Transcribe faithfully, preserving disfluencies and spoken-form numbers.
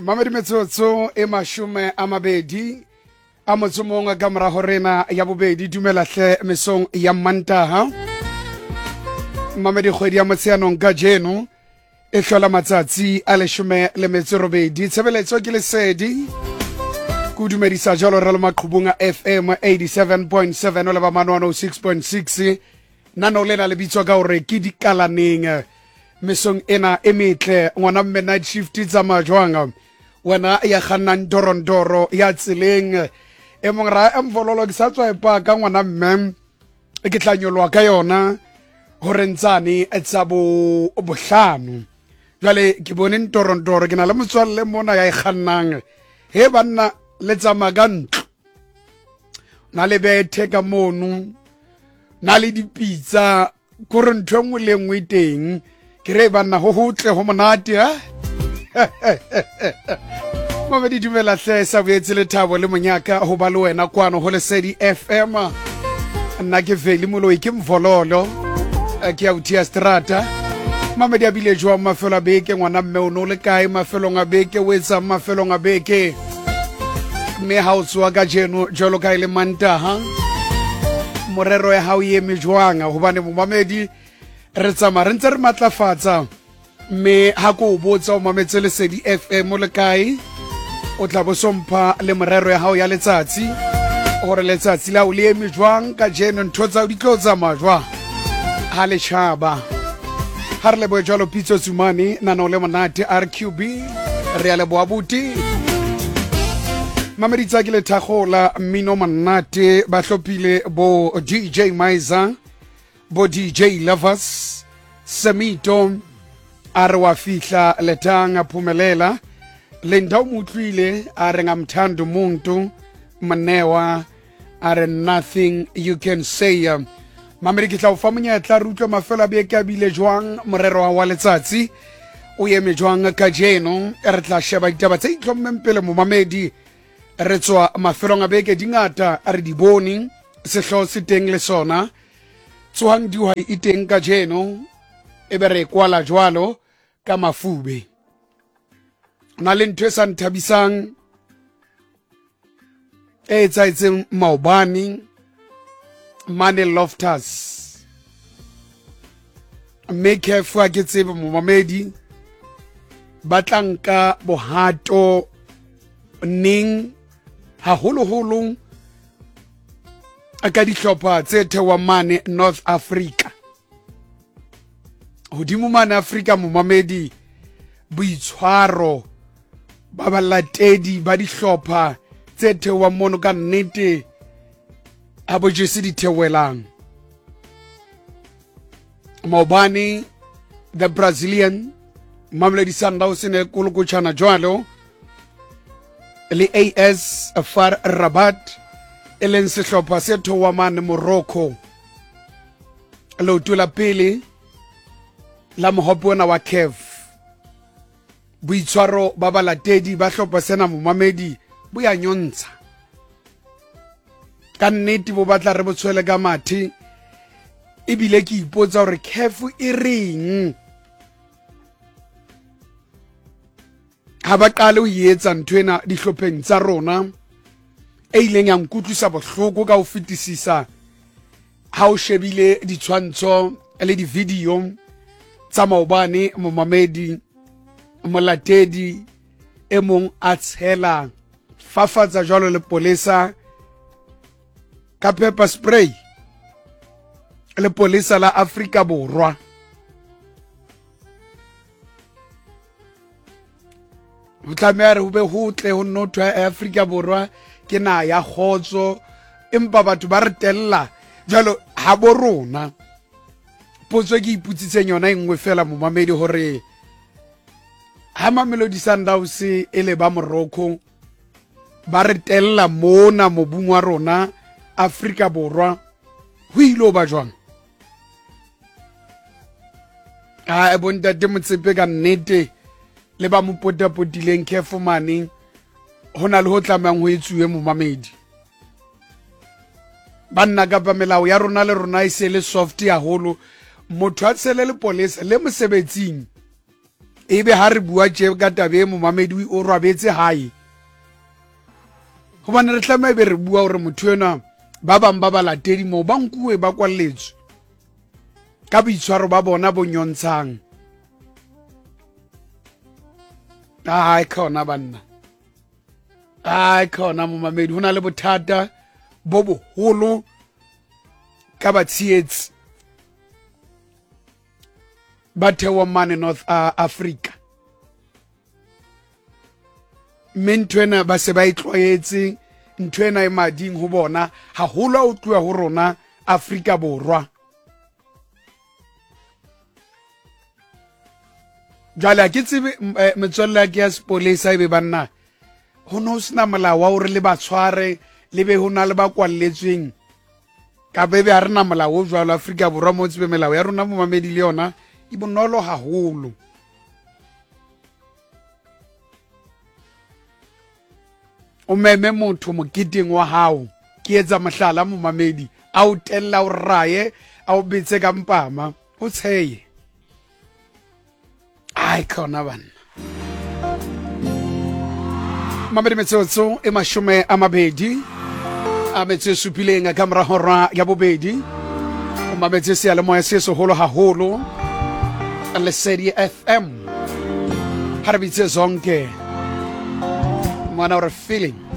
Mamedi, metsotso e mashome a mabedi a motso mongwe ka morago rena ya bobedi. Dumela hle mesong ya Mantaha. Mamedi, kgwedi ya Motsheanong ka jeno e hlola matsatsi a leshome le metso robedi. Tshebeletso ke Lesedi, ko dumedisa jalo re le maqhubung a F M eighty-seven point seven o leba mane one oh six point six. Nano lena le bitswa ka hore ke Dikalaneng. Mesong ena e metle, ngwana mme, night shift e tsamaya jwang? Wena ya kgannang dorondoro ya tseleng e mong ra emvololo, ke sa tswa e paka, ngwana mme, ke tla nyoloha ka yona hore ntsane tsa bo bohlano. Jwale ke bone ntorontoro, ke na le motswalle mona ya e kgannang. He banna, le tsamaya ka ntlo na le bethe ka mono na le dipitsa, kore ntho e nngwe le nngwe e teng. Ke re banna, ho hotle, ho monate. A mamedi, dumela hle, sa boetse lethabo le monyaka ho ba le wena kwano ho Lesedi F M. Nna ke Veli Moloi, ke Mvololo, eh, ke autia strata. Mamedi, a bile jwang mafelo a beke? Ngwana mme, o ne o le kae mafelong a beke? O etsang mafelong a beke? Mme ha o tsoa ka jeno jwalo ka e le Mantaha, morero ya hao e eme jwang? Hobane momamedi, re tsamaya re ntse re matlafatsa, mme ha ko o botsa o mametse Lesedi F M o le kae, o tla bo sompha le morero ya hao ya letsatsi, hore letsatsi la o le eme jwang ka jeno, ntho tsa di tlo tsamaya jwang ha le tjhaba. Ha re lebohe jwalo Pitso Tsumane, nano le monate R Q B, re a leboha buti. Mamedi, tsa ke lethagola mmino monate, ba hlophile bo D J Miser, bo D J Lovers Semito, a re wa fihla letang a phumelela Linda, o mo utlwile a re ngamthanda umuntu Mnewa, a re nothing you can say. Mamedi, ke tla o fa monyetla re utlwe mafelo a beke a bile jwang, morero wa letsatsi o eme jwang ka jeno. Re tla sheba ditaba tse itlhommeng pele, momamedi. Re tswa mafelong a beke, dingata a re di bone, sehlooho se teng le sona tsohang dihwai e teng ka jeno, e be re e kwala jwalo ka mafube. Na le ntho e sa nthabisang e etsahetseng maobane mane Loftus, mme CAF, ha ke tsebe momamedi, ba tla nka bohato neng, haholoholo ka dihlopha tse theohang mane North Africa, hodimo mane Africa. Momamedi, boitshwaro ba balatedi ba dihlopha tse theohang mono ka nnete ha bo jese ditheohelang. Maobane the Brazilian Mamelodi Sundowns ne kolokotjhana jwalo le A S Far Rabat, e leng sehlopha se theoha mane Morocco, leoto la pele la mohope ona wa CAF. Boitshwaro ba balatedi ba hlopha sena, momamedi, bo ya nyontsha ka nnete, bo batla re bo tshwele ka mathe. Ebile ke ipotsa hore CAF e reng ha ba qale ho etsa nthwena dihlopheng tsa rona. E ileng ya nkutlwisa bohloko ka ho fetisisa, ha o shebile ditshwantsho le di-video tsa maobane, momamedi, molatedi e mong a tshela fafatsa jwalo le polesa ka pepper spray, lepolesa la Afrika Borwa. Ho tlameha re ho be ho tle ho nno thwe Afrika Borwa ke naha ya kgotso, empa batho ba re tella jwalo ha bo rona. Potso e ke ipotsitseng yona e nngwe fela, momamedi, hore ha Mamelodi Sundowns e le ba Morocco ba re tella mona mobung wa rona Afrika Borwa, ho ile ho ba jwang? Ha bontate Motsepe ka nnete le ba mo potapotileng CAF mane, ho na le ho tlamehang ho etsuwe, momamedi. Banna, kapa melao ya rona le rona e se le soft haholo, motho a tshele lepolesa le mosebetsing Ebe ha re bua tje ka taba e, momamedi o robetse hae, gobane re tlameha be re bua gore motho enwa, ba bang ba balatedi moo ba nkuwe, ba kwalletswe ka boitshwaro ba bona bo nyontshang. Ai khona banna, ai khona momamedi, ho na le bothata bo boholo ka batshehetsi ba theohang mane North uh, Africa, mme ntho ena ba se ba e tlwaetse, ntho ena e mading ho bona haholo ha o tluwa ho rona Afrika Borwa. Jwale ha ke tsebe, eh, metswalle ya ke ya sepolesa, ebe banna ho no sena molao wa hore le ba tshware, le be ho na le ba kwalletsweng, kapa ebe ha re na molao o jwalo Afrika Borwa mo tsebe melao ya rona momamedi le yona e bonolo haholo. O meme motho moketeng wa hao, ke etsa mohlala momamedi, a o tella, o raye, a o betse ka mpama, o tsheye. Ai khona banna. Mamedi, metsotso e mashome a mabedi a metso e supileng ka mora hora ya bobedi, o mametse seyalemoya se seholo haholo Lesedi F M. Ha re bitse Zonke, ngwana o re feeling.